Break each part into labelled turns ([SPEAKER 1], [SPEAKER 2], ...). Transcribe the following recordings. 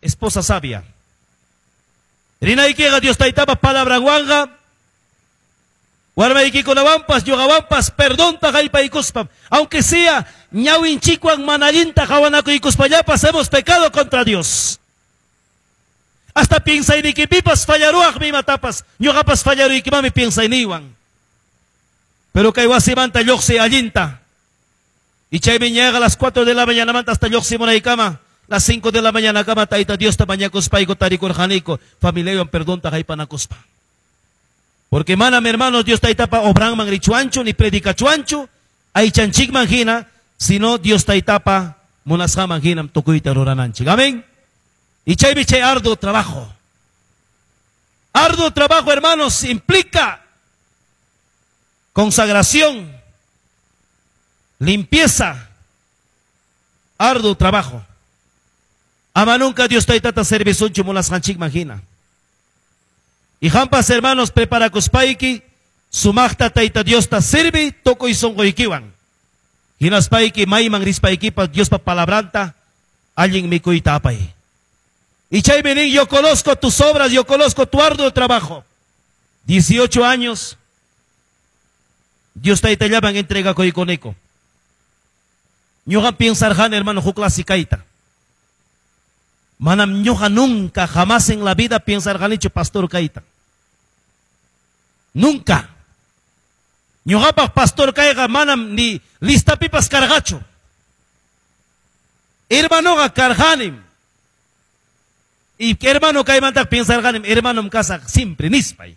[SPEAKER 1] Esposa sabia. Rinaykiqa Dios Taytapa palabranwanqa warmaykikunawanpas ñuqawanpas perdonta haypaykuspam, aunque sea ñawinchikwan mana allinta qawanakuykuspallapas, hemos pecado contra Dios. Hasta piensaynikipipas fallaruwaqmi imatapas, ñuqapas fallaruykimanmi piensayniywan. Pero kay wasimanta lluqsiy allinta. Y chaymi ñaqa a las 4 de la mañana hasta lluqsimunaykama, las 5 de la mañana kama Tayta Diosta mañakuspayku tarikurqaniku, familiaywan perdonta haypanakuspa. Porque manam, hermanos, Dios Taytapa obranman richuanchu ni predicachuanchu aychanchikman hina, sino Dios Taytapa munasqanman hinam tukuyta rurananchik. Amén. Y chaymi chay arduo trabajo. Arduo trabajo, hermanos, implica consagración, limpieza, arduo trabajo. Ama nunca Dios Taytata servisunchu munasqanchikman hina. Y qampas, hermanos, preparakuspayki sumaqta Tayta Diosta sirvi tukuy sunquykiwan. Hinaspayki mayman rispaykipas Diospa palabranta allin mikuyta apay. Y chaymi nin, yo conozco tus obras, yo conozco tu arduo trabajo. 18 años, Dios Taytallaman entregakuykuniko. Ñuqa piensarqani, hermano, huk clase kayta. Manam ñuqa nunca, jamás en la vida piensarqanichu pastor kayta. Nunca. Ñuqapaq pastor kayqa manam ni listapipas karqachu. Hermanoqa karqanim. Y hermano kaymantaq piensarqanim, hermanom kasaq siempre nispay.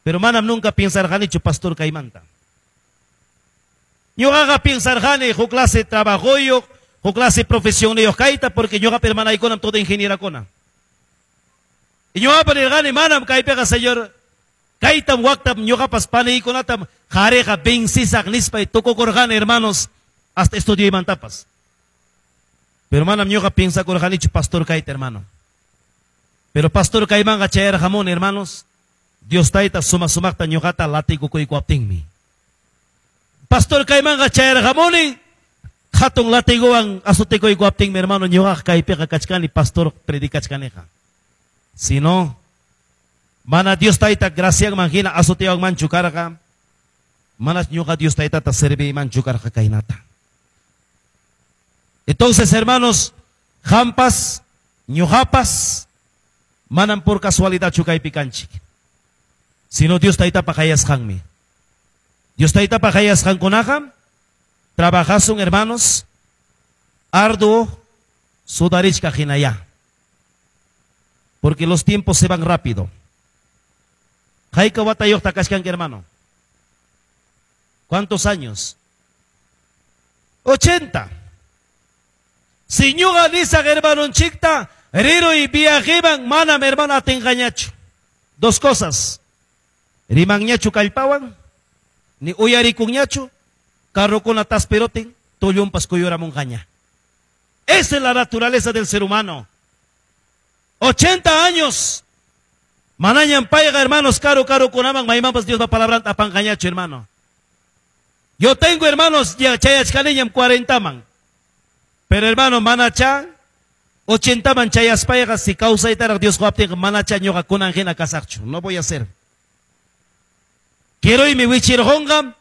[SPEAKER 1] Pero manam nunca piensarqanichu pastor kaymanta. Ñuqaqa piensarqani huk clase trabajoyuq, huk clase profesionniyuq kayta, porque ñuqapa hermanaykunam todo ingenierakuna. Y ñuqapa nirqani, manam kaypiqa, Señor, kaytam waktam ñuqapas paniykunatam qariqa vencisaq nispay tukukurqani, hermanos, hasta estudioymantapas. Pero manam ñuqa piensakurqanichu pastor kayta, hermano. Pero pastor kaymanqa chayarqamuni, hermanos, Dios Tayta suma sumaqta ñuqata latigukuykuwaptinmi. Pastor kaymanqa chayarqamuni hatun latiguwan azotekuykuwaptinmi, hermano, ñuqaqa kaypiqa kachkani pastor predicachkaniqa. Si no, mana Dios Tayta gracianman hina azotewanmanchu karqa, manas ñuqa Dios Taytata serviymanchu karqa kaynata. Entonces, hermanos, qampas, ñuqapas, manam por casualidadchu kaypi kanchik. Sino Dios Taytapa qayasqanmi. Dios Taytapa qayasqankunaqa trabajasun, hermanos, arduo sudarichka hinaya. Porque los tiempos se van rápido. Hayka watayuqta kachkanki, hermano? ¿Cuántos años? 80. Si ñuqa nisaq hermanonchikta, riruy viajeman, manam, hermano, atinqañachu. Dos cosas. Rimanñachu kallpawan, ni uyarikunñachu, carrokuna taspirotin, tullunpas kuyuramunqaña. Esa es la naturaleza del ser humano. 80 años. Manañam payqa, hermanos, karu karukunaman maymanpas Diospa palabranta apanqañachu, hermano. Yo tengo, hermanos, ya chayachkaniñam 40 man. Pero, hermano, manacha 80 man chayaspayqa si kawsaytaraq Dios quwaptinqa manacha ñuqa kunan hina kasaqchu. No voy a hacer. Kiruymi wichirqunqa,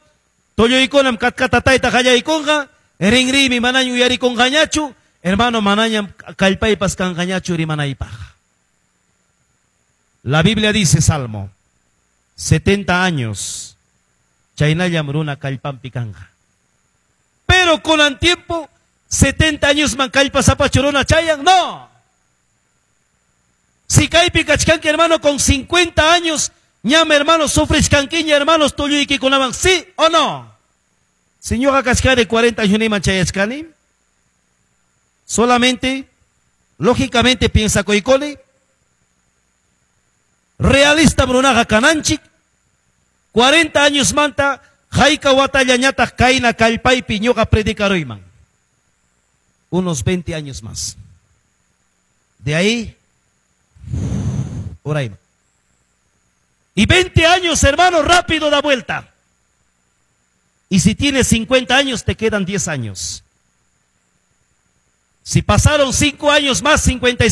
[SPEAKER 1] tulluykunam katkatatayta qallaykunqa, rinriymi manaña uyarikunqañachu, hermano, manañam kallpaypas kanqañachu rimanaypaq. La Biblia dice, Salmo, 70 años, chaynallam runa kallpanpi kanqa. Pero con el tiempo, 70 años man kallpasapachu runa chayan, no. Si kaypi kachkanki, hermano, con 50 años, ñam, hermano, sufrichkankiña, hermanos, tulluykikunawan, ¿sí o no? Si ñuqa kachkani 40 años niman chayachkani, solamente, lógicamente, piensa kuykuni, realista runaqa kananchik, 40 años manta, hayka watallañataq kayna kallpaypi ñuqa predicaruyman. Unos 20 años más. De ahí, urayman. Y 20 años, hermano, rápido da vuelta. Y si tienes 50 años, te quedan 10 años. Si pasaron 5 años más, 55.